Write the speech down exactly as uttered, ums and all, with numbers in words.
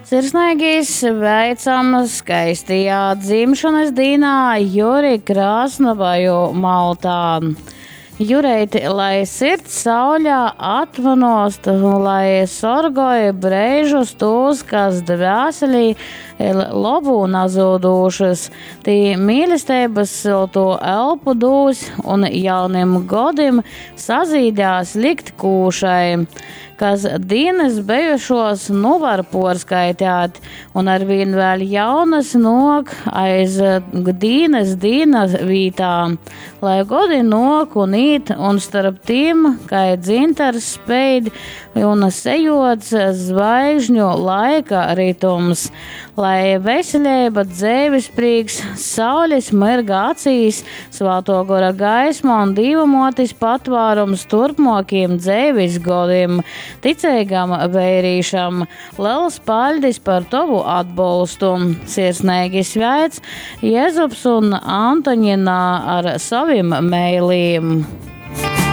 Sirsneigi sveicam skaistajā dzimšanas dīnā Juri Krasnovaju Maltā. Jureiti, lai sirds sauļā atvanost, lai sorgoj breižus tūs, kas dvēselī ir lobu nazūdūšas. Tī mīlesteibas siltu elpu dūs un jaunim godim sazīdās likt kūšai, kas dīnas bejušos nu var porskaitēt, un arvīn vēl jaunas nok aiz dīnas dīnas vītā. Lai godi nok un īt, un starp tīm, kai dzintars speid un sejots zvaigžņu laika ritums. Lai veselība, dzeives prīks, saules mirga acīs, svāto gora gaisma un Dīva motis patvārums turpmokiem dzeives godim. Ticīgam veirīšam, liels paļdis par tovu atbolstu. Sirsnīgi sveic Jezups un Antoņina ar savim meiliem.